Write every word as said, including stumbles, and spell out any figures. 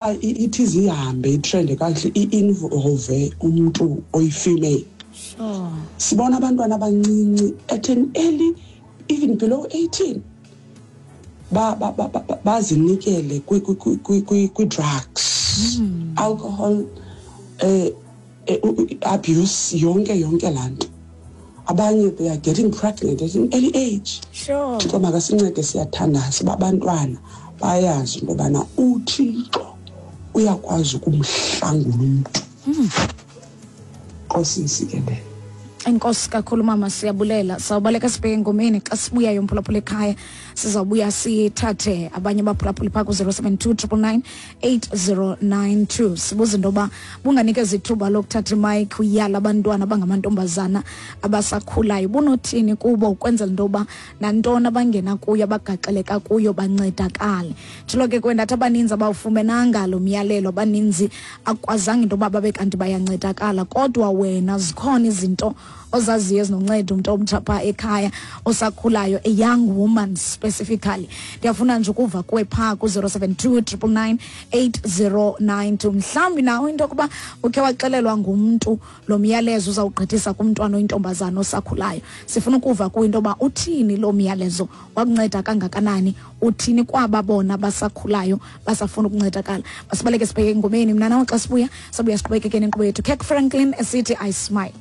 Ithi zihambe itrende kakuhle, i-involve umntu oyi-female. Sure sibona abantwana abancinci at an early, even below eighteen, ba ba ba bazinikele kwi-drugs, alcohol, eh abuse, yonke yonke laa nto. Abanye, they are getting pregnant at an early age. Sure Thixo makasincede. Siyathandaza uba abantwana bayazi into yobana uThixo uyakwazi ukumhlangula umntu. Nkosi nsikelele. Enkosi kakhulu, mama, siyabulela. Sawubaleka sibheke engomeni. Xa sibuyayo, mphulaphula ekhaya, sizawubuya sithathe abanye abaphulaphuli phaa ku-zero seven two triple nine eight zero nine two. Sibuza into yoba bunganikeza ithuba lokuthatha imayikhi uyala abantwana abangamantombazana abasakhulayo, bunothini kubo ukwenzela into yoba nantoni abangena kuyo, abagaxeleka kuyo, bancedakale? Tshilo ke kwendathi abaninzi abawufumenanga lo myalelo, abaninzi akwazanga into yoba babe kanti bayancedakala. Kodwa wena zikhona izinto ozaziyo ezinonceda umntu omtsha phaa ekhaya osakhulayo, a young woman specifically? Ndiyafuna nje ukuva kuwe phaa ku-zero seven two triple nine eight zero nine two. Mhlawumbi nawe into yokuba ukhe waxelelwa ngumntu lo myalezo uzawugqithisa kumntwana oyintombazana osakhulayo. Sifuna ukuva kuwe into yoba uthini lo myalezo, wakunceda kangakanani, uthini kwaba bona basakhulayo basafuna ukuncedakala. Masibaleke sibheke engomeni. Mna nawe xa sibuya, sabuya siqhubekeke nenkqubo yethu. Kirk Franklin esithi "I Smile".